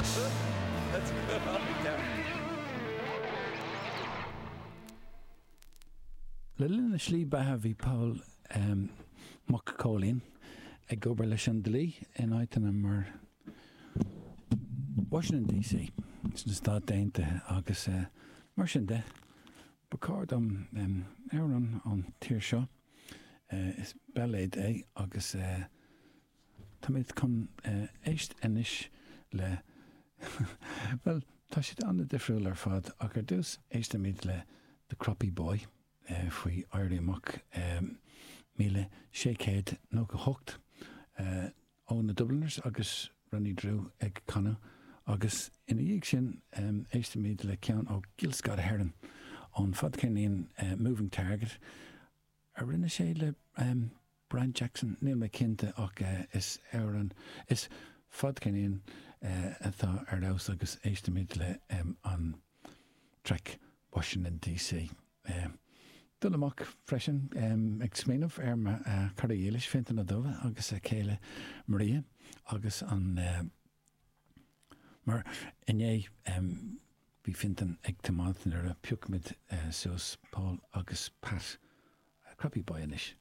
That's good. Le linn a shlí beatha bhí Paul Mac Cóilín ag obair leis an dlí in áiteanna mar Washington DC sna Stáit Aontaithe agus mar sin de ba chóir dom amhrán ón tír seo, is bailéad é agus táimid chun éist anois le, bhuel, tá siad an-difriúil ar fad ach ar dtús éistfimid le The Croppy Boy faoi Éirí Amach 1698 ó na Dubliners agus Ronnie Drew ag canadh agus ina dhiaidh sin éistfimid le ceann ó Gil Scott Heron ón fadcheirnín Moving Target a rinne sé le Brian Jackson, níl mé cinnte ach is amhrán, is fadcheirnín atá ar fheabhas agus éistfimid le an traic Washington DC. Dul amach freisin ag smaoineamh ar mo chara dhílis Fintan Ó Dubha agus a chéile Maria agus an mar inné bhí Fintan ag tiomáint nuair a phioc muid suas Paul agus Pat Croppy Boy anois.